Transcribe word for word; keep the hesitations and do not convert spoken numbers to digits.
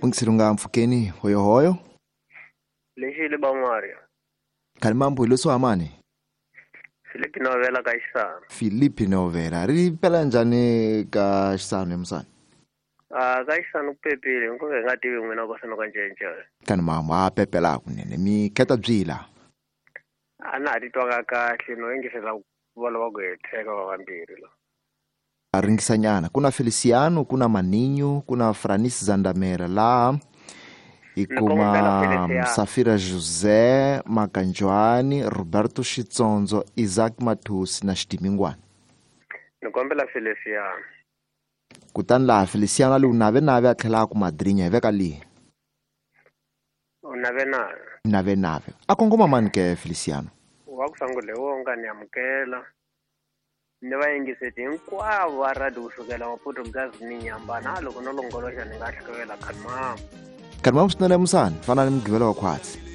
Ungisilunga mfukeni hoyohoyo. Lexi le Ban'wari. Khani mambo hi leswo amani. Filipi Novela ka Xisano. Filipi Novela ri pela njhani ka Xisano emusana? Ah ka Xisano ku pepile nko hi nga tivi n'wina ko sano ka njenje. Khani mambo a pepela kunene mi kheta byila. A na ha titwanga kahle no yingisela ku va ku hetheka va vambirhi la. A ringisanyana ku na Feliciano ku na Maninho ku na Franis Zandamela laha hi kuma Safira José Makanjwani Roberto Xitsondzo Isaac Mathusi na Xidimingwana. Ni kombela Feliciano. Kutani laha Feliciano a li u nave nave a tlhela a ku madrinya hi veka lihi? U nave nave. Nave nave. A kongoma mani ke Feliciano? Wa ku sangule wonga ni amukela. Ni va yingiseti hinkwavo va radio kusukela Maputo Gazi ni Nyamba na loko no longoloxa ni nga hlekela khani mama. Khani mama swinene musani fana ni mugqivela wa khwatsi.